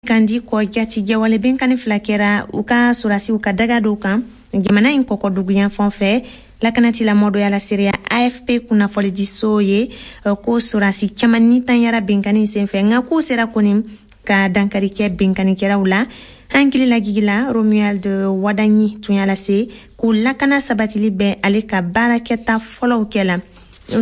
Kandi kɔ jatigɛwale binkanni fila kɛra u ka sɔrɔdasiw ka daga dɔw kan jamana in kɔkɔduguyanfan fɛ. Lakanatigilamɔgɔ dɔ y'a laseereya AFP kunnafonidiso ye ko sɔrɔdasi caman nitanyara binkanni senfɛ, nka k'u sera kɔni ka dankari kɛ binkannikɛlaw la. Hankili lajigila Romuald Wadagni tun y'a lase ko lakana sabatili bɛ ale ka baarakɛta fɔlɔw kɛ la.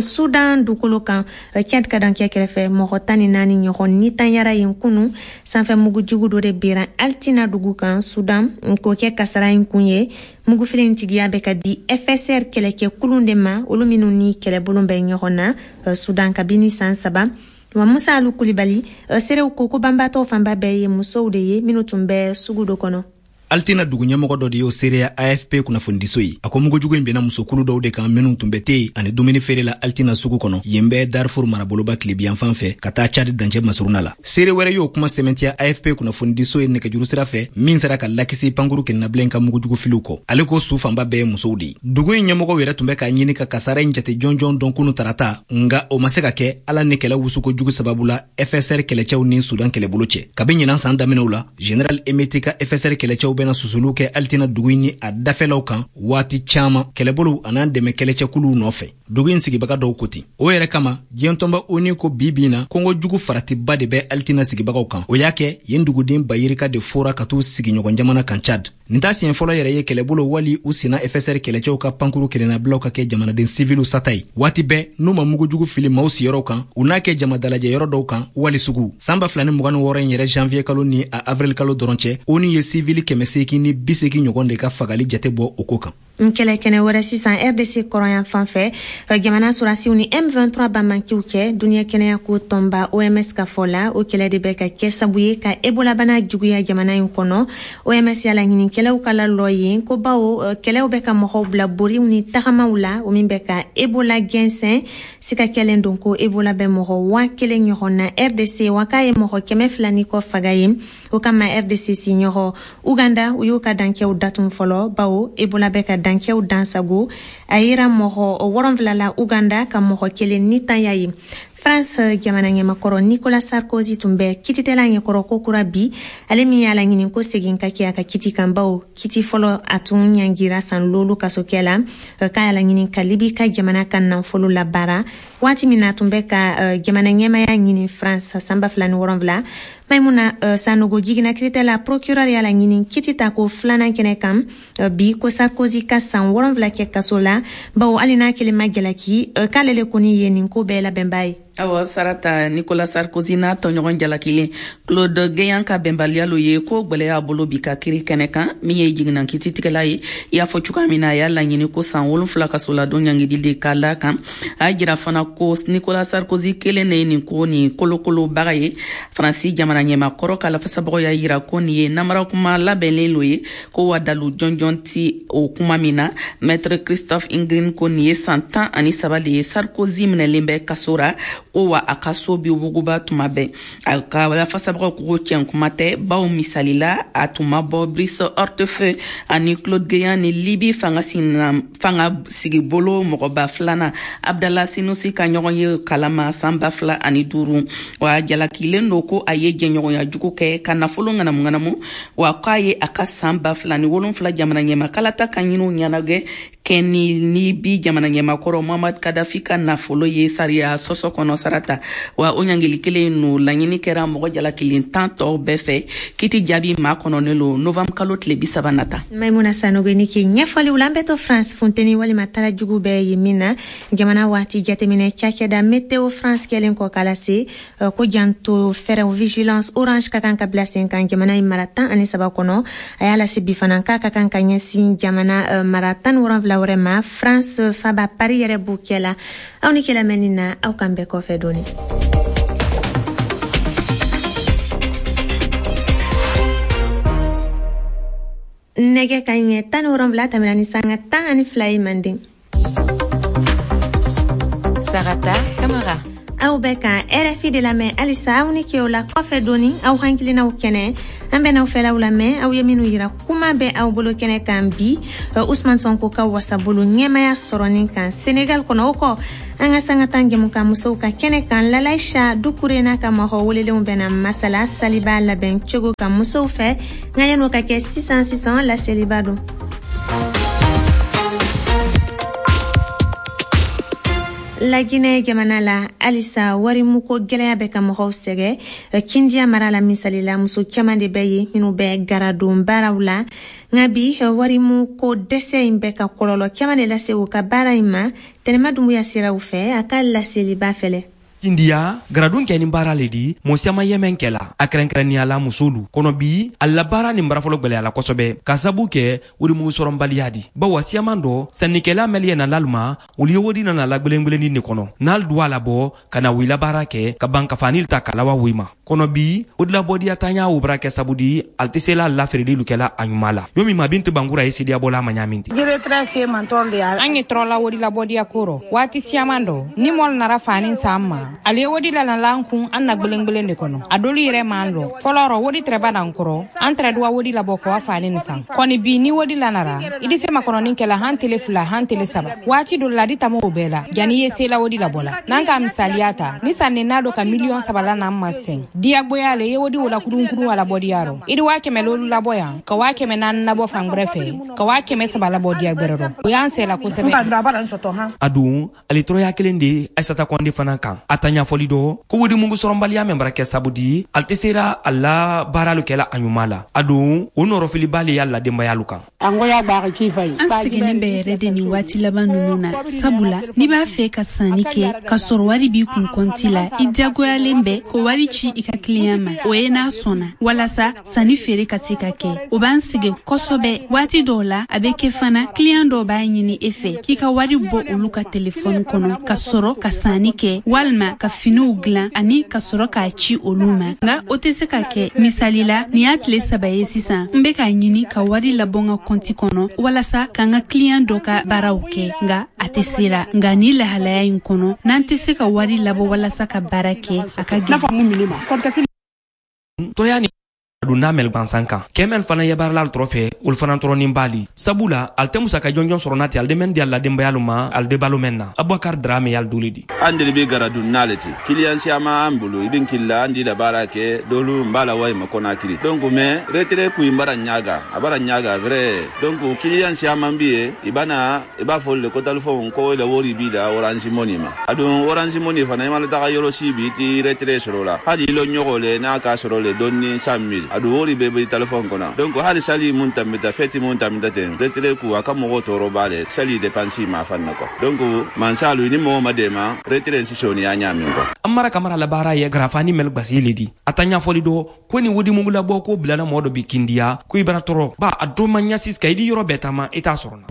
Sudan dugukolo kan, Tchad ka dancɛ kɛrɛfɛ, mɔgɔ 14 ɲɔgɔn nitanyara yen kunu. Sanfɛ mugujugu dɔ de bera Altina dugu kan Sudan, k'o kɛ kasara in kun ye. Mugufili in tigiya bɛ ka di FSR kɛlɛkɛkulun de ma, olu minnu ni kɛlɛbolo bɛ ɲɔgɔn na Sudan kabini san 3. Wa Musa Alu Kulibali, seerew ko ko banbaatɔw fanba bɛɛ ye musow de ye minnu tun bɛ sugu dɔ kɔnɔ. Altina dugu ɲɛmɔgɔ dɔ de y'o seereya AFP kunnafonidiso ye. A ko mugujugu in benna musokulu dɔw de kan minnu tun bɛ te ani dumuni feere la Altina sugu kɔnɔ, yen bɛ Darfur maraboloba tilebiyanfan fɛ ka taa Chad dancɛ masuruna la. Seere wɛrɛ y'o kuma sɛmɛntiya AFP kunnafonidiso ye nɛgɛjuru sira fɛ, min sera ka lakisi pankuru kɛnɛnabila ka mugujugu filiw kɔ. Ale ko su fanba bɛɛ ye musow de ye. Dugu in ɲɛmɔgɔw yɛrɛ tun bɛ k'a ɲini ka kasara in jate jɔnjɔn dɔn kunu tarata, nka o ma se ka kɛ ala ni kɛlɛ wusuko jugu sababu la FSR kɛlɛcɛw ni Sudan kɛlɛbolo cɛ. Kabi ɲinan san daminɛw la, Général Hemeti ka FSR kɛlɛcɛw bɛna susuluw kɛ Altina dugu in ni a dafɛlaw kan waati caman, kɛlɛbolow an'an dɛmɛ kɛlɛcɛkuluw nɔfɛ. Dugu in sigibaga dɔw ko ten. O yɛrɛ kama, diɲɛ tɔnba ONU ko bi bi in na kɔngɔ jugu faratiba de bɛ Altina sigibagaw kan. O y'a kɛ yen duguden bayirika de fora ka t'u sigiɲɔgɔn jamana kan Tchad. Nin t'a siɲɛ fɔlɔ yɛrɛ ye kɛlɛbolo wali u senna FSR kɛlɛcɛw ka pankuru kelennabilaw ka kɛ jamanaden siviliw sata ye. Waati bɛɛ n'u ma mugujugu fili maaw siyɔrɔw kan, u n'a kɛ jamadalajɛ yɔrɔ dɔw kan wali sugu. San 2026 in yɛrɛ janvier kalo ni a avril kalo dɔrɔn cɛ, ONU ye sivili 880 ɲɔgɔn de ka fagali jate bɔ o ko kan. N kɛlɛ kɛnɛ wɛrɛ sisan, RDC kɔrɔyan fan fɛ, jamana sɔrɔdasiw ni M23 banbanciw cɛ. Duniɲɛ kɛnɛya ko tɔnba OMS ka fɔ la, o kɛlɛ de bɛ ka kɛ sabu ye ka ebolabana juguya jamana in kɔnɔ. OMS y'a laɲini kɛlɛw ka lalɔ yen ko bawo kɛlɛw bɛ ka mɔgɔw bila boriw ni tagamaw la, o min bɛ ka ebola jɛnsɛn. Sika kɛlen don ko ebola bɛ mɔgɔ 1000 ɲɔgɔn na RDC, wa k'a ye mɔgɔ 200 ni kɔ faga yen. O kama RDC siɲɔgɔn Uganda, u y'u ka dancɛw datun fɔlɔ, bawo ebola bɛ ka dancɛw dansago. A yera mɔgɔ 7 la Uganda, ka mɔgɔ kelen nitanya ye. France jamana ɲɛmakɔrɔ Nicolas Sarkozy tun bɛ kititɛla ɲɛkɔrɔ ko kura bi, ale min y'a laɲini ko segin ka kɛ a ka kiti kan, bawo kiti fɔlɔ a tun ɲangira san 5 kasokɛ la, k'a y'a laɲini ka Libi ka jamana ka nafolo labaara waati min na a tun bɛ ka jamana ɲɛmaya ɲini France san 2007. Maimuna Sanogo, jiginna kiritɛla procureur y'a laɲini kiti ta ko filanan kɛnɛ kan bi ko Sarkozy ka san 7 kɛ kaso la, bawo hali n'a kelen ma jalaki, k'ale le kɔni ye nin ko bɛɛ labɛnba ye. Awɔ Sarata, Nicolas Sarkozy n'a tɔɲɔgɔn jalakilen Claude Guéant ka bɛnbaliya lo ye ko gwɛlɛya bolo bi ka kiri kɛnɛ kan. Min ye jiginna kititigɛla ye, i y'a fɔ cogoya min na, a y'a laɲini ko san 7 kasoladon ɲangili de ka la kan. A y'a jira fana ko Nicolas Sarkozy kelen de ye nin ko nin kolokolobaga ye. Faransi jamana ɲɛmakɔrɔ ka lafasabagaw y'a yira ko nin ye namara kuma labɛnlen lo ye, ko wa dalu jɔnjɔn ti o kuma min na. Maître Christophe Ingrin ko nin ye san 13 de ye Sarkozy minɛlen bɛ kaso ra, ko wa a ka so bi wuguba tuma bɛɛ. A ka lafasabagaw ko tiɲɛ kuma tɛ, bawo misali la a tun ma bɔ Brice Hortefeux ani Claude Guéant ni Libi fanga sigibolo mɔgɔba filanan Abdallah Senoussi ka ɲɔgɔn ye kalama san 2005. Wa jalakilen don ko a ye jɛɲɔgɔnya jugu kɛ ka nafolo ŋanamu-ŋanamu, wa k'a ye a ka san 2007 jamana ɲɛmakalata ka ɲiniw ɲɛnagɛ kɛ ni Libi jamana ɲɛmakɔrɔ Muhammad Kadhafi ka nafolo ye sariya sɔsɔ kɔnɔ. Sarata, wa o ɲangili kelen no laɲini kɛra mɔgɔ jalakilen 10 tɔw bɛɛ fɛ. Kiti jaabi maa kɔnɔnen lo novembre kalo tile 30 nata. Maimuna Sanogo ni ke ɲɛfɔliw la. An bɛ to France, funteni walima tara jugu bɛɛ ye min na. Jamana waati jateminɛ cakɛda Météo France kɛlen kɔ k'a lase ko janto fɛɛrɛw vigilance orange ka kan ka bila sen kan jamana in mara 13 kɔnɔ. A y'a lase bi fana k'a ka kan ka ɲɛsin jamana mara 17 wɛrɛ ma, France faba Paris yɛrɛ b'o kɛ la. Aw ni kɛlɛ mɛnni na, aw kan bɛɛ kɔfɛ dɔɔni. Nɛgɛ ka ɲɛ 17 tɛmɛna ni sanga 12 ye manden. Sarata Kamara. Aw bɛ ka RFI de lamɛn halisa. Aw ni ke o la kɔfɛ dɔɔni, aw hakilinaw kɛnɛ. An bɛn'aw fɛlaw lamɛn, aw ye minnu yira kuma bɛ aw bolo kɛnɛ kan bi, Usman Sonko ka wasabolo ɲɛmaya sɔrɔnin kan Senegal kɔnɔ. O kɔ, an ka sanga tan jɛmukan musow ka kɛnɛ kan, Lalaisha Dukure n'a ka mɔgɔ welelenw bɛna masala saliba labɛn cogo kan musow fɛ. Nka yan'o ka kɛ, sisan sisan laseliba don. Laginɛ jamana la, halisa warimuko gwɛlɛya bɛ ka mɔgɔw sɛgɛ. Kindiya mara la, misali la, muso caaman de bɛ ye minnu bɛ garadon baaraw la, nka bi warimuko dɛsɛ in bɛ ka kɔlɔlɔ caaman de lase u ka baara in ma. Tɛnɛma Dunbuya siraw fɛ, a ka laseliba fɛlɛ. Kindiya, garadon kɛ ni baara le di, mɔɔ siyaman yɛmɛn kɛ la, a kɛrɛnkɛrɛnnenya la musolu kɔnɔ. Bi a la baara nin barafɔlɔ gwɛlɛyala kosɛbɛ ka sabu kɛ worimugu sɔrɔnbaliya di, bawa siyaman dɔ sannikɛla mɛli ye na laluma, olu ye wodi nana la gwelengbelenin de kɔnɔ, n'al duwa labɔ ka na wila baara kɛ ka ban ka fanil ta ka lawa wi ma kɔnɔ. Bi odilabɔdiya tanya wo bara kɛ sabu di al tɛ se la la feerelilu kɛla a ɲuman la. Yo min ma Bintu Bangura ye sidiyabɔla ma ɲamin ten. An ye tɔrɔla wodilabɔdiya ko rɔ waati siyaman dɔ. Ni mɔl nara fani san ma, ale ye wodi lanala an kun an na gwelengbelen de kɔnɔ. A dolu yɛrɛ m'an lɔ fɔlɔ rɔ, wodi tɛrɛba d'an kɔrɔ, an tɛrɛ duwa wodi labɔ kɔ fani nin san. Kɔni bi ni wodi lanara, i di se makɔnɔni kɛla han tele 2, han tele 3, waati dɔ la di tamo o bɛɛ la jani ye sela wodi labɔ la. N'an ka misaliya ta, ni sanni n'a dɔ ka miliyɔn 3 la n'an ma sɛn diyagoya le ye wodi wala kurunkuru wala bɔdiya rɔ, i di 500 500 labɔ yan, ka 400 labɔ fan gwɛrɛ fɛ, ka 300 labɔ diya gwɛrɛ rɔ, o y'an sɛla kosɛbɛ. A dun ale tɔrɔya kelen de Aisata Kɔnde fana kan. A ta ɲɛfɔli dɔ ko wodi mugu sɔrɔnbaliya mɛn bara kɛ sabu di ale tɛ sera a la baaralu kɛla a ɲuman la. A dun o nɔrɔfiliba le y'a la denbayalu kan. An seginni bɛ yɛrɛ de nin waati laban ninnu na, sabula n'i b'a fɛ ka sanni kɛ ka sɔrɔ wari b'i kun kɔnti la, i diyagoyalen bɛ ko wari ci i ka kiliyan ma, o ye n'a sɔnna, walasa sanni feere ka se ka kɛ. O b'an sɛgɛn kosɛbɛ. Waati dɔw la a bɛ kɛ fana, kiliyan dɔw b'a ɲini e fɛ k'i ka wari bɔ olu ka telefɔni kɔnɔ ka sɔrɔ ka sanni kɛ walima ka finiw dilan ani ka sɔrɔ k'a ci olu ma, nka o tɛ se ka kɛ. Misali la, nin y'a tile 3 ye sisan, n bɛ k'a ɲini ka wari labɔ n ka kɔnti kɔnɔ walasa ka n ka kiliyan dɔ ka baaraw kɛ, nka a tɛ se la. Nka ni lahalaya in kɔnɔ, n'an tɛ se ka wari labɔ walasa ka baara kɛ, a ka gɛlɛn. Tɔrɔya ni don n'a mɛl gansan kan kɛmɛl fana ye baarala tɔrɔ fɛ, olu fana tɔrɔnin b'ali, sabula ale tɛ musaka jɔnjɔn sɔrɔ n'a tɛ ale mɛn di a la denbayalu ma, ale de balo mɛn na. Abubakar Drame y'ale doli di. An de bɛ garadun n'ale ti kiliyan siyaman an bolo, i bɛ kili la, an di la baara kɛ dolu n b'a la wa ma Conakry. Donc mais retrait ku in bara ɲaga, a bara ɲaga vrai. Donc kiliyan siyaman bi ye, i bana i b'a fɔ le ko téléphone ko le wori bi la Orange Money ma. A dun Orange Money fana, i ma taga yɔrɔ si bi i ti retrait sɔrɔ la, hali i lɔ ɲɔgɔn le n'a ka sɔrɔ le dɔɔni 100 000, a dun wori bɛɛ bɛ téléphone kɔnɔ. Donc hali sali mun tambita, fɛti mun tambita ten, retrait ku a ka mɔgɔw tɔɔrɔ b'a le sali dépense ma fan na quoi. Donc mansalu ni mɔgɔ ma dɛmɛ, retrait si sɔnni y'a ɲaamin quoi. An mara kamara la baara ye garafani mɛl gbasi le di. A ta ɲɛfɔli dɔ ko ni wodi mugu labɔ ko bilala mɔgɔ dɔ bi Kindiya ko i bara tɔɔrɔ ba a dɔ ma ɲasi ka i di yɔrɔ bɛɛ taama i t'a sɔrɔ na.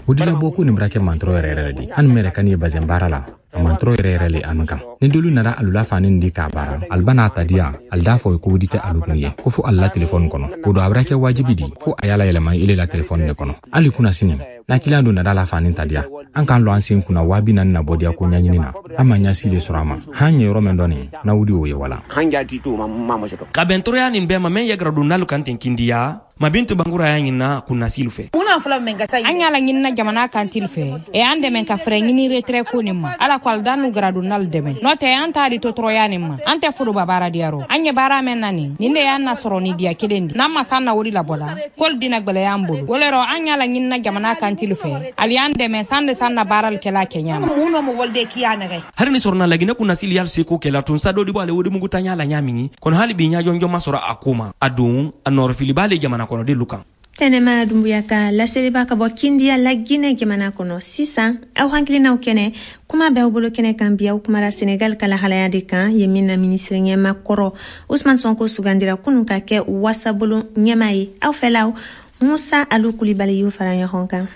Wodi labɔ ko nin bara kɛ mantɔrɔ yɛrɛ yɛrɛ di an mɛrɛ kan ye bazɛn baara la, a mantɔrɔ yɛrɛ yɛrɛ le anu kan. Ni dolu nana alula fani di k'a baara, aliba n'a ta diya, ali d'a fɔ ko wodi tɛ alu kun ye, ko fo ali la telefɔni kɔnɔ. O don a bara kɛ wajibi di fo a y'a la yɛlɛma ile la telefɔni de kɔnɔ. Hali kunna sini n'a kiliyan dɔ nana la fani ta diya, an k'an lɔ an sen kunna 40 000 na bɔ diya ko ɲɛɲini na, an ma ɲɛsi de sɔrɔ a ma. Han ye yɔrɔ min dɔn na wudi o ye wala. Ka bɛn tɔɔrɔya nin bɛɛ ma mɛn ye garadonnalu kan ten Kindiya, Mabintu Bangura y'a ɲinina kunnasilu fɛ. An y'a laɲinina jamana kantili fɛ e an dɛmɛ ka fɛɛrɛ ɲini retrait ko nin ma. Ala ko ali n'u garadonnalu dɛmɛ, n'o tɛ an t'a di to tɔɔrɔya nin ma. An tɛ foroba baara diyarɔ, an ye baara mɛn na nin nin de y'an na sɔrɔ ni diya kelen di. N'an ma san na wodi labɔ la, k'olu dina gwɛlɛya an bolo. O le rɔ an y'a laɲinina jamana kantili fɛ, ali y'an dɛmɛ san de san na baarali kɛla kɛ ɲa ma. Hari ni sɔrɔna Laginɛ kunnasili y'al seko kɛla tun sa dɔ di bɔ ale wodi mugu ta ɲa la ɲa min kɔnɔ, hali bi ɲa jɔnjɔn ma sɔrɔ a ko ma. A don a nɔrɔfili b'ale jamana kɔnɔdenlu kan. Tɛnɛma Dunbuya ka laseliba ka bɔ Kindiya, Laginɛ jamana kɔnɔ. Sisan aw hakilinaw kɛnɛ, kuma bɛ aw bolo kɛnɛ kan bi. Aw kumara Senegal ka lahalaya de kan ye min na minisiri ɲɛma kɔrɔ Usman Sonko sugandira kunun ka kɛ wasabolo ɲɛma ye. Aw fɛlaw, Musa Alu Kulibali y'u fara ɲɔgɔn kan.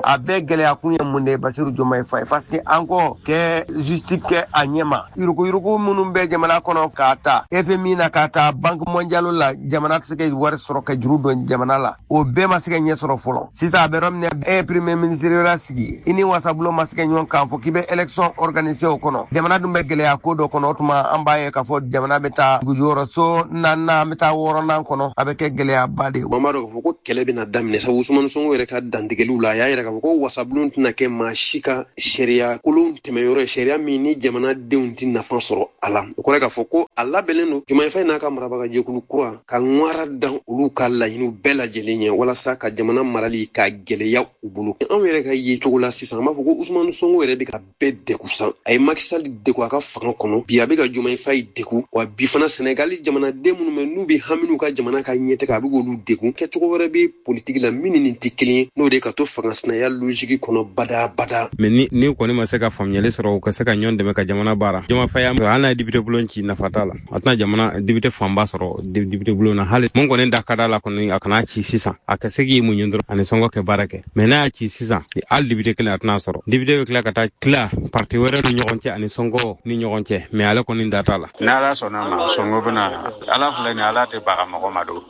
A bɛɛ gɛlɛya kun ye mun de ye Basiru Diomaye Faye? Parce que an ko kɛ justice kɛ a ɲɛma. Yuruguyurugu minnu bɛ jamana kɔnɔ k'a ta FMI na k'a ta Banque mondiale la, jamana tɛ se ka wari sɔrɔ ka juru don jamana la, o bɛɛ ma se ka ɲɛ sɔrɔ fɔlɔ. Sisan a bɛ yɔrɔ min na, e ye premier ministre wɛrɛ sigi, i ni wasabulon ma se ka ɲɔgɔn kan fɔ k'i bɛ élection organiser o kɔnɔ. Jamana dun bɛ gɛlɛya ko dɔ kɔnɔ. O tuma an b'a ye k'a fɔ jamana bɛ taa dugujukɔrɔso naaninan, an bɛ taa wɔɔrɔnan kɔnɔ, a bɛ kɛ gɛlɛyaba de ye. An b'a dɔn k'a fɔ ko kɛlɛ bɛna daminɛ sabu Usumani Sonko yɛrɛ ka dantigɛliw la, a y'a yira k'a fɔ ko wasabulon tɛna kɛ maa si ka sariya kolon tɛmɛyɔrɔ ye, sariya min ni jamanadenw tɛ nafa sɔrɔ a la. O kɔrɔ ye k'a fɔ ko a labɛnnen don Diomaye Faye n'a ka marabagajɛkulu kura ka ŋwara dan olu ka laɲiniw bɛɛ lajɛlen ɲɛ walasa ka jamana marali ka gɛlɛya u bolo. Anw yɛrɛ ka ye cogo la sisan, an b'a fɔ ko Usumani Sonko yɛrɛ bɛ ka bɛɛ degun san. A ye Macky Sall degun a ka fanga kɔnɔ, bi a bɛ ka Diomaye Faye degun, wa bi fana Senegali jamanaden minnu bɛ n'u bɛ hami n'u ka jamana ka ɲɛtaga, a bɛ k'olu degun. Kɛcogo wɛrɛ bɛ politiki la min ni nin tɛ kelen ye, n'o de ka to fanga sinaya logique kɔnɔ badabada. Mais ni kɔni ma se ka faamuyali sɔrɔ, u ka se ka ɲɔgɔn dɛmɛ ka jamana baara. Diomaye Faye hali n'a ye député bulon ci, nafa t'a la, a tɛna jamana député fanba sɔrɔ député bulon na. Hali mun kɔni da ka d'a la kɔni, a kana ci sisan, a ka se k'i muɲu dɔrɔn ani Sonko kɛ baara kɛ. Mais n'a y'a ci sisan, hali député kelen a tɛna sɔrɔ. Député bɛ tila ka taa tila parti wɛrɛ ni ɲɔgɔn cɛ ani Sonko ni ɲɔgɔn cɛ, mais ale kɔni da t'a la. N'Ala sɔnna ma, Sonko bɛna Ala filɛ nin, Ala tɛ baga mɔgɔ ma don.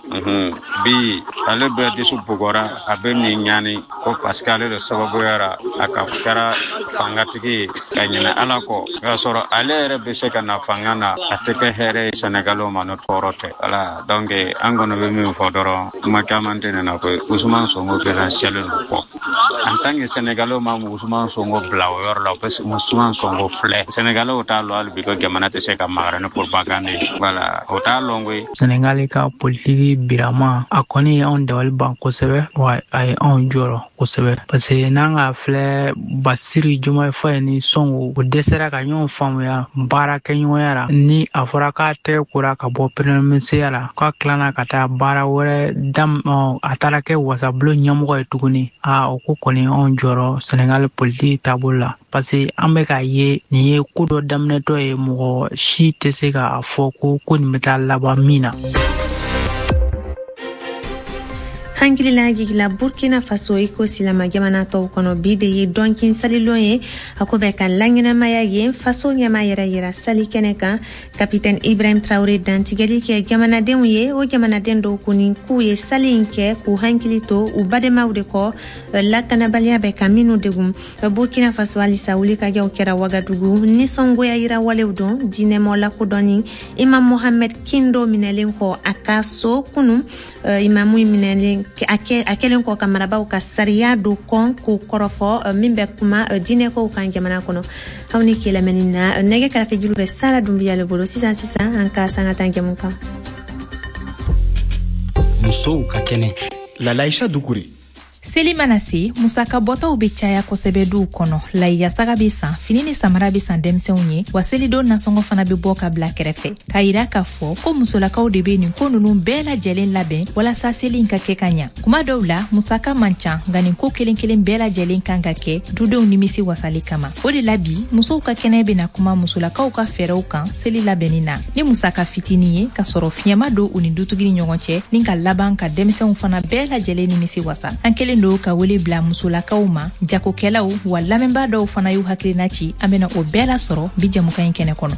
Bi ale bɛɛ dusu bugɔra, a bɛ nin ɲani ko parce que ale de sababuyara a ka kɛra fangatigi ye ka ɲinɛ Ala kɔ. O y'a sɔrɔ ale yɛrɛ bɛ se ka na fanga na, a tɛ kɛ hɛrɛ ye Sɛnɛgaliw ma, n'o tɔɔrɔ tɛ. Voilà, donc an kɔni bɛ min fɔ dɔrɔn, kuma caman tɛ nin na koyi. Ousmane Sonko présidentiel don kɔ. En tant que Sénégalais ma Ousmane Sonko bila o yɔrɔ la, o bɛ Ousmane Sonko filɛ. Sénégalais t'a lɔn hali bi ko jamana tɛ se ka magara ni propagande ye. Voilà, o t'a lɔn koyi. Sénégal ka politiki birama, a kɔni ye anw dabali ban kosɛbɛ, wa a ye anw jɔrɔ kosɛbɛ, parce que n'an ka filɛ Basiru Diomaye Faye ni Sonko, o dɛsɛra ka ɲɔgɔn faamuya baarakɛɲɔgɔnya la. Ni a fɔra k'a tɛgɛ kora ka bɔ premier ministre la, k'a tilana ka taa baara wɛrɛ dam, a taara kɛ wasabulon ɲɛmɔgɔ ye tuguni, a o ko kɔni anw jɔrɔ Sénégal politiki taabolo la, parce que an bɛ k'a ye nin ye ko dɔ daminɛtɔ ye, mɔgɔ si tɛ se k'a fɔ ko nin bɛ taa laban min na. Hankilila jigila Burkina Faso i ko silama jamana tɔw kɔnɔ, bi de ye dɔnkin salilon ye, a ko bɛ ka laɲɛnamaya yen faso ɲɛma yɛrɛ yira sali kɛnɛ kan. Kapitɛn Ibrahim Traoré dantigɛli kɛ jamanadenw ye, o jamanaden dɔw kɔni k'u ye sali in kɛ k'u hankili to u badenmaw de kɔ, lakanabaliya bɛ ka minnu degun. Burkina Faso halisa wulikajɔw kɛra Wagadugu, nisɔngoya yira walew don diinɛmɔ lakodɔnni Imam Mohamed Kindo minɛlen kɔ a ka so kunu. Imamu minɛlen a kɛlen kɔ ka marabaw ka sariya do kɔn k'o kɔrɔfɔ min bɛ kuma diinɛkow kan jamana kɔnɔ. Aw ni ke lamɛnni na, nɛgɛ karafe juru bɛ Sara Dunbiya le bolo. Sisan sisan an ka sanga tan jɛmu kan. Musow ka kɛnɛ. Lalaïcha Doucouré. Seli mana se, musaka bɔtaw bɛ caya kosɛbɛ duw kɔnɔ. Layiyasaga bɛ san, fini ni samara bɛ san denmisɛnw ye, wa selidon nasɔngɔ fana bɛ bɔ ka bila kɛrɛfɛ, k'a yira k'a fɔ ko musolakaw de bɛ nin ko ninnu bɛɛ lajɛlen labɛn walasa seli in ka kɛ ka ɲa. Kuma dɔw la musaka man ca, nka nin ko kelen kelen bɛɛ lajɛlen kan ka kɛ dudenw nimisi wasali kama. O de la bi musow ka kɛnɛ bɛna kuma musolakaw ka fɛɛrɛw kan seli labɛnni na ni musaka fitinin ye, ka sɔrɔ fiɲɛma don u ni dutigi ni ɲɔgɔn cɛ, ni ka laban ka denmisɛnw fana bɛɛ lajɛlen nimisi wasa. An kelen don ka wele bila musolakaw ma, jagokɛlaw wa lamɛnbaa dɔw fana y'u hakilina ci. An bɛna o bɛɛ lasɔrɔ bi jɛmukan in kɛnɛ kɔnɔ.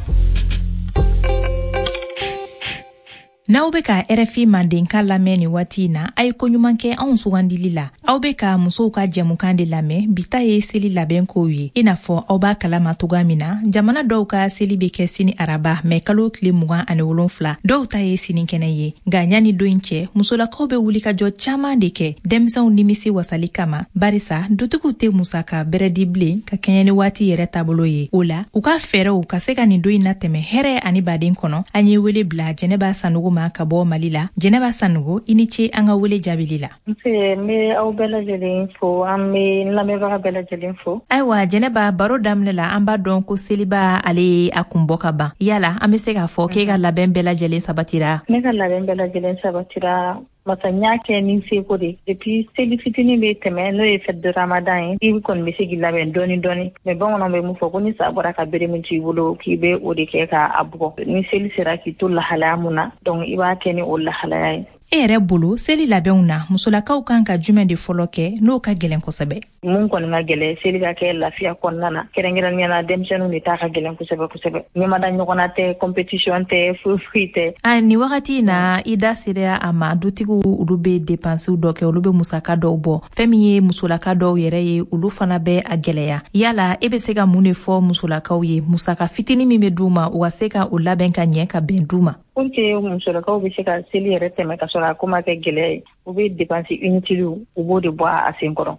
N'aw bɛ ka RFI mandenkan lamɛn nin waati in na, a ye koɲuman kɛ anw sugandili la. Aw bɛ ka musow ka jɛmukan de lamɛn, bi ta ye seli labɛn kow ye. I n'a fɔ aw b'a kalama cogoya min na, jamana dɔw ka seli bɛ kɛ sini araba mɛ kalo tile 27, dɔw ta ye sinikɛnɛ ye. Nka ɲani don in cɛ, musolakaw bɛ wulikajɔ caman de kɛ denmisɛnw nimisi wasali kama, barisa dutigiw tɛ musaka bɛrɛ di bilen ka kɛɲɛ ni waati yɛrɛ taabolo ye. O la, u ka fɛɛrɛw ka se ka nin don in natɛmɛ hɛrɛ ani baden kɔnɔ. An ye wele bila Jɛnɛba Sanogo ma ka bɔ Mali la. Jɛnɛba Sanogo, i ni ce an ka wele jaabili la. Nse, n bɛ aw bɛɛ lajɛlen fo, an bɛ n lamɛnbaga bɛɛ lajɛlen fo. Ayiwa Jɛnɛba, baro daminɛ la an b'a dɔn ko seliba ale ye a kun bɔ ka ban. Yala an bɛ se k'a fɔ k'e ka labɛn bɛɛ lajɛlen sabatira? Ne ka labɛn bɛɛ lajɛlen sabatira. Masa n y'a kɛ ni seko de. Depuis seli fitinin bɛ tɛmɛ, n'o ye fête de Ramadan ye, i kɔni bɛ se k'i labɛn dɔɔni dɔɔni. Mais bamananw bɛ mun fɔ, ko ni sa bɔra ka bere min to i bolo, k'i bɛ o de kɛ k'a bugɔ. Ni seli sera k'i to lahalaya mun na, donc i b'a kɛ ni o lahalaya ye. E yɛrɛ bolo, seli labɛnw na, musolakaw kan ka jumɛn de fɔlɔ kɛ n'o ka gɛlɛn kosɛbɛ? Mun kɔni ka gɛlɛn, seli ka kɛ lafiya kɔnɔna na, kɛrɛnkɛrɛnnenya la denmisɛnninw de ta ka gɛlɛn kosɛbɛ kosɛbɛ. Ɲɛmada ɲɔgɔnna tɛ, compétition tɛ, foyi foyi tɛ. A nin wagati in na, i da sera a ma, dutigiw olu bɛ dépenses dɔ kɛ, olu bɛ musaka dɔw bɔ. Fɛn min ye musolaka dɔw yɛrɛ ye, olu fana bɛ a gɛlɛya. Yala e bɛ se ka mun de fɔ musolakaw ye, musaka fitinin min bɛ d'u ma, u ka se ka o labɛn ka ɲɛ ka bɛn d'u ma? Pour que musolakaw bɛ se ka seli yɛrɛ tɛmɛ ka sɔrɔ a ko ma kɛ gɛlɛya ye, u bɛ dépense inutile, u b'o de bɔ a sen kɔrɔ.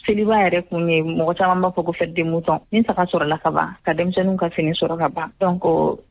Seliba yɛrɛ kun ye, mɔgɔ caman b'a fɔ ko fête de mouton. Ni saga sɔrɔla ka ban, ka denmisɛnninw ka fini sɔrɔ ka ban, donc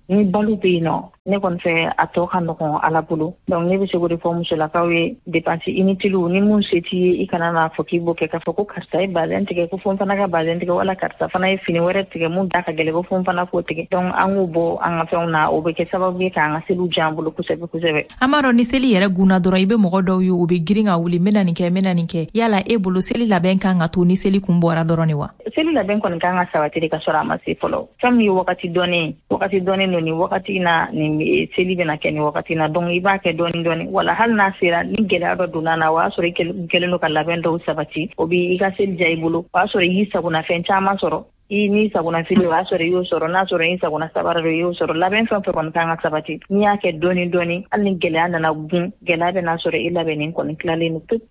ni balo bɛ yen nɔ, ne kɔni fɛ a tɔ ka nɔgɔn Ala bolo. Donc ne bɛ se k'o de fɔ musolakaw ye, dépense inutile, ni mun se t'i ye, i kana n'a fɔ k'i b'o kɛ, k'a fɔ ko karisa ye bazɛn tigɛ ko fo n fana ka bazɛn tigɛ, wala karisa fana ye fini wɛrɛ tigɛ mun da ka gɛlɛn ko fo n fana k'o tigɛ. Donc an k'o bɔ an ka fɛnw na, o bɛ kɛ sababu ye k'an ka seliw diya an bolo kosɛbɛ kosɛbɛ. An b'a dɔn ni seli yɛrɛ gunna dɔrɔn, i bɛ mɔgɔ dɔw ye, u bɛ girin ka wuli, n bɛna nin kɛ, n bɛna nin kɛ. Yala e bolo, seli labɛn kan ka to ni seli kun bɔra dɔrɔn de wa? Seli labɛn kɔni kan ka sabati de ka sɔrɔ a ma se fɔlɔ. Fɛn min ye wagati dɔnnen, wagati dɔnnen don, nin wagati na nin seli bɛna kɛ nin wagati na, donc i b'a kɛ dɔɔni dɔɔni. Wala hali n'a sera, ni gɛlɛya dɔ donna na, o y'a sɔrɔ i kɛlen don ka labɛn dɔw sabati, o b'i ka seli diya i bolo. O y'a sɔrɔ i y'i sagonafɛn caman sɔrɔ, i n'i sagona fini, o y'a sɔrɔ i y'o sɔrɔ, n'a sɔrɔ i sagona sabara dɔ i y'o sɔrɔ. Labɛn fɛn fɛn kɔni kan ka sabati, n'i y'a kɛ dɔɔni dɔɔni, hali ni gɛlɛya nana gun, gɛlɛya bɛna sɔrɔ i labɛnnen kɔni tilalen don pewu.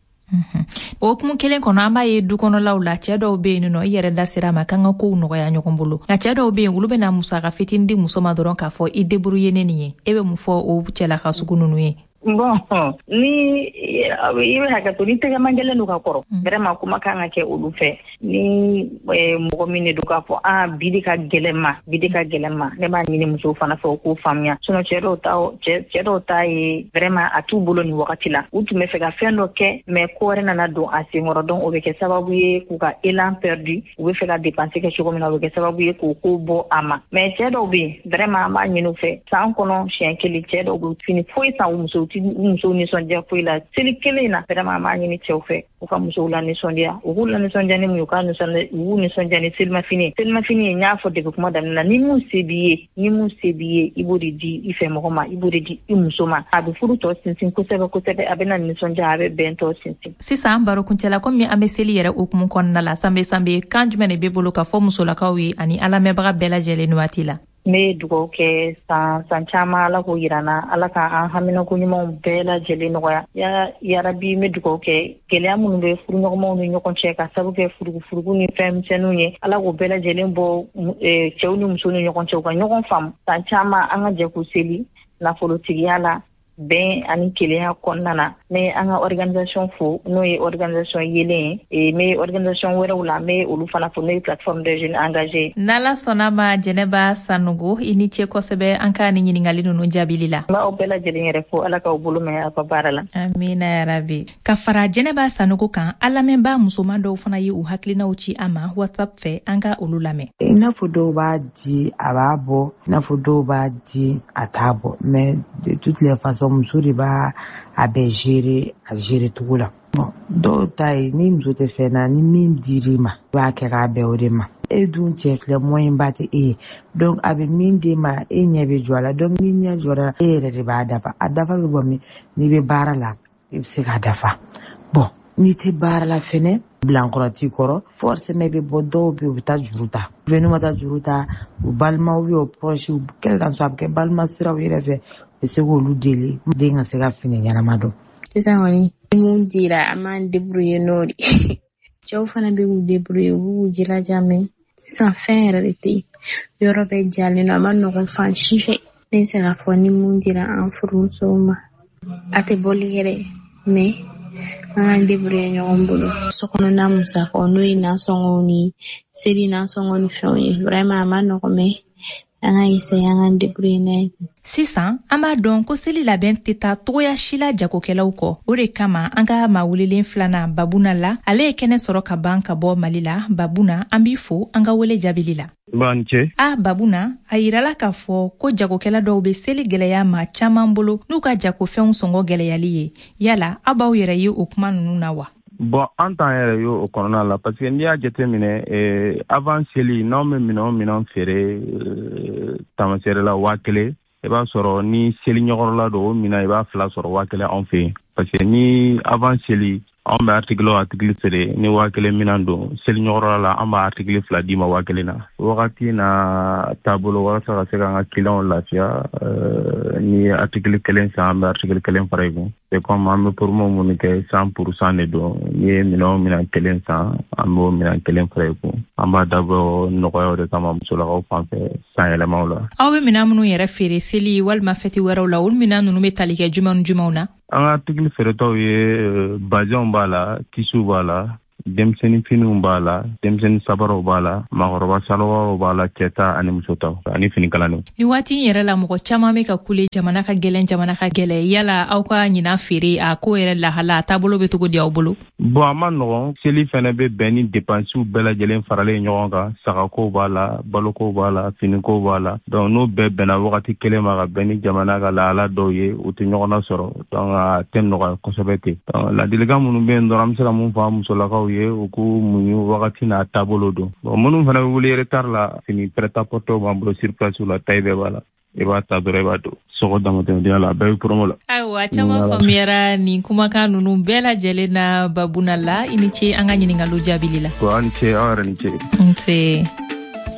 O hukumu kelen kɔnɔ, an b'a ye du kɔnɔlaw la, cɛɛ dɔw be yen nɔ, i yɛrɛ da sera a ma k'an ka kow nɔgɔya ɲɔgɔn bolo, nka cɛɛ dɔw be yen, olu bɛna musaka fitinin di muso ma dɔrɔn k'a fɔ i débrouiller ne nin ye. E bɛ mun fɔ o cɛlaka sugu ninnu ye? Bon, ni i bɛ hakɛ to, ni tɛgɛman gɛlɛn don ka kɔrɔ, vraiment kuma kan ka kɛ olu fɛ. Ni mɔgɔ min de don k'a fɔ a bi de ka gɛlɛn ma, bi de ka gɛlɛn ma, ne b'a ɲini musow fana fɛ u k'o faamuya. Sinon cɛ dɔw ta ye vraiment a t'u bolo nin wagati la. U tun bɛ fɛ ka fɛn dɔ kɛ, mais ko wɛrɛ nana don a senkɔrɔ, donc o bɛ kɛ sababu ye k'u ka élan perdu. U bɛ fɛ ka dépenser kɛ cogo min na, o bɛ kɛ sababu ye k'o ko bɔ a ma. Mais cɛ dɔw bɛ yen, vraiment an b'a ɲini u fɛ, san kɔnɔ siɲɛ kelen, cɛ dɔw bɛ fini foyi san u musow ti, u musow nisɔndiya foyi la seli kelen in na. Vraiment an b'a ɲini cɛw fɛ u ka musow la nisɔndiya. U k'u la nisɔndiya ni mun ye? U ka nisɔndiya, u k'u nisɔndiya ni selimafini. Selimafini ye, n y'a fɔ depuis kuma daminɛ na, ni mun se b'i ye, ni mun se b'i ye, i b'o de di i fɛ mɔgɔ ma, i b'o de di i muso ma. A bɛ furu tɔ sinsin kosɛbɛ kosɛbɛ, a bɛ na nisɔndiya, a bɛ bɛn tɔ sinsin. Sisan barokuncɛla, komi an bɛ seli yɛrɛ hukumu kɔnɔna la, Sanbe Sanbe, kan jumɛn de b'e bolo ka fɔ musolakaw ye ani an lamɛnbaga bɛɛ lajɛlen nin waati la? N bɛ dugawu kɛ san san caman, Ala k'o yira n na, Ala ka an haminako ɲumanw bɛɛ lajɛlen nɔgɔya ya yarabi. N bɛ dugawu kɛ, gɛlɛya minnu bɛ furuɲɔgɔnmaw ni ɲɔgɔn cɛ ka sababu kɛ furugufurugu ni fɛn misɛnninw ye, Ala k'o bɛɛ lajɛlen bɔ cɛw ni musow ni ɲɔgɔn cɛ, u ka ɲɔgɔn faamu. San caman an ka jɛ k'u seli nafolotigiya la, bɛn ani kelenya kɔnɔna na. N bɛ an ka organisation fo, n'o ye organisation yelen ye. N bɛ organisation wɛrɛw la, n bɛ olu fana fo, n'o ye Plateforme des jeunes engagés. N'Ala sɔnna ma, Jɛnɛba Sanogo, i ni ce kosɛbɛ an ka ni ɲininkali ninnu jaabili la. N b'aw bɛɛ lajɛlen yɛrɛ fo, Ala k'aw bolo mɛn aw ka baara la. Amina yarabi. Ka fara Jɛnɛba Sanogo kan, an lamɛnbaa musoman dɔw fana ye u hakilinaw ci an ma WhatsApp fɛ, an ka olu lamɛn. I n'a fɔ dɔw b'a di, a b'a bɔ, i n'a fɔ dɔw b'a di, a t'a bɔ, mais de toutes les façons muso de b'a a bɛɛ gérer a gérer cogo la. Bon, dɔw ta ye, ni muso tɛ fɛn na, ni min dir'i ma, i b'a kɛ k'a bɛn o de ma. E dun cɛ filɛ, moyen ba tɛ e ye, donc a bɛ min d'e ma, e ɲɛ bɛ jɔ a la. Donc ni ɲɛ jɔra, e yɛrɛ de b'a dafa. A dafa bɛ bɔ min? N'i bɛ baara la, i bɛ se k'a dafa. Bon, n'i tɛ baara la fɛnɛ, bilankɔrɔ t'i kɔrɔ, forcément i bɛ bɔ. Dɔw bɛ yen, u bɛ taa juru ta. Ou n'u ma taa juru ta, u balimaw ou u proches, quel qu'en soit, a bɛ kɛ balima siraw yɛrɛ fɛ, u bɛ se k'olu deli, den ka se ka fini ɲɛnama don. Sisan kɔni, ni mun dira, an b'an débrouiller n'o de. Cɛw fana bɛ k'u débrouiller, u b'u jilaja, mais sisan fɛn yɛrɛ de tɛ yen, yɔrɔ bɛɛ jalen don, a ma nɔgɔn fan si fɛ. Ne bɛ se k'a fɔ ni mun dira an furumusow ma, a tɛ bɔli kɛ dɛ, mais an k'an débrouiller ɲɔgɔn bolo. Sokɔnɔna musakaw, n'o ye nasɔngɔw ni seli nasɔngɔ ni fɛnw ye, vraiment a ma nɔgɔn, mais an ka essayer an k'an débrouiller n'a ye. Sisan an b'a dɔn ko seli labɛn tɛ taa togoya si la jagokɛlaw kɔ. O de kama an ka maa welelen filanan, Babuna la, ale ye kɛnɛ sɔrɔ ka ban ka bɔ Mali la. Babuna, an b'i fo an ka wele jaabili la. B'an ce. A Babuna, a yirala k'a fɔ ko jagokɛla dɔw be seli gwɛlɛya maa caaman bolo n'u ka jagofɛnw sɔngɔ gwɛlɛyali ye. Yala aw b'aw yɛrɛ ye o kuma nunu na wa? Bon, an t'an yɛrɛ ye o kɔnɔna la, parce que n'i y'a jateminɛ, avant seli, n'anw bɛ minɛn o minɛn feere tamaseere la 1000. I b'a sɔrɔ ni seli ɲɛkɔrɔla don, o minan i b'a fila sɔrɔ 1000 anw fɛ yen, parce que ni avant seli anw bɛ article o article feere ni 1000 minan don, seli ɲɛkɔrɔla la an b'a article fila d'i ma 1000 na. Wagati na taabolo, walasa ka se k'an ka clients lafiya, ni ye article kelen san, an bɛ article kelen fara i kun. C'est comme an bɛ promo minnu kɛ, 100% de don. N'i ye minɛn o minɛn kelen san, an b'o minɛn kelen fara i kun. An b'a dabɔ nɔgɔyaw de kama musolakaw fan fɛ san yɛlɛmaw la. Aw bɛ minɛn minnu yɛrɛ feere seli walima fɛti wɛrɛw la, olu minɛn ninnu bɛ tali kɛ jumɛn ni jumɛnw na? An ka article feeretaw ye bazɛnw b'a la, tisuw b'a la, denmisɛnnin finiw b'a la, denmisɛnnin sabaraw b'a la, maakɔrɔba salowaraw b'a la, cɛta ani musotaw ani finikalaniw. Ni waati in yɛrɛ la, mɔgɔ caman bɛ ka kule jamana ka gɛlɛn, jamana ka gɛlɛn. Yala aw ka ɲinan feere a ko yɛrɛ lahala, a taabolo bɛ cogo di aw bolo? Bon, a ma nɔgɔn. Seli fɛnɛ bɛ bɛn ni depansiw bɛɛ lajɛlen faralen ɲɔgɔn kan. Sagakow b'a la, balokow b'a la, finikow b'a la. Donc n'o bɛɛ bɛnna wagati kelen ma ka bɛn ni jamana ka lahala dɔw ye, u tɛ ɲɔgɔn nasɔrɔ. Donc a tɛ nɔgɔya kosɛbɛ ten. Donc ladilikan minnu bɛ yen dɔrɔn, an bɛ se ka mun fɔ an musolakaw ye, u k'u muɲu, wagati n'a taabolo don. Bon, minnu fana bɛ wuli retard la, fini prêt-à-porter b'an bolo sur place la, taille bɛɛ b'a la. I b'a ta dɔrɔn, i b'a don. Sɔgɔ damatɛmɛdenya la, a bɛɛ bɛ promo la. Ayiwa, caman faamuyara nin kumakan ninnu bɛɛ lajɛlen na. Babuna la, i ni ce an ka ɲininkaliw jaabili la. Aw ni ce, aw yɛrɛ ni ce. Nse.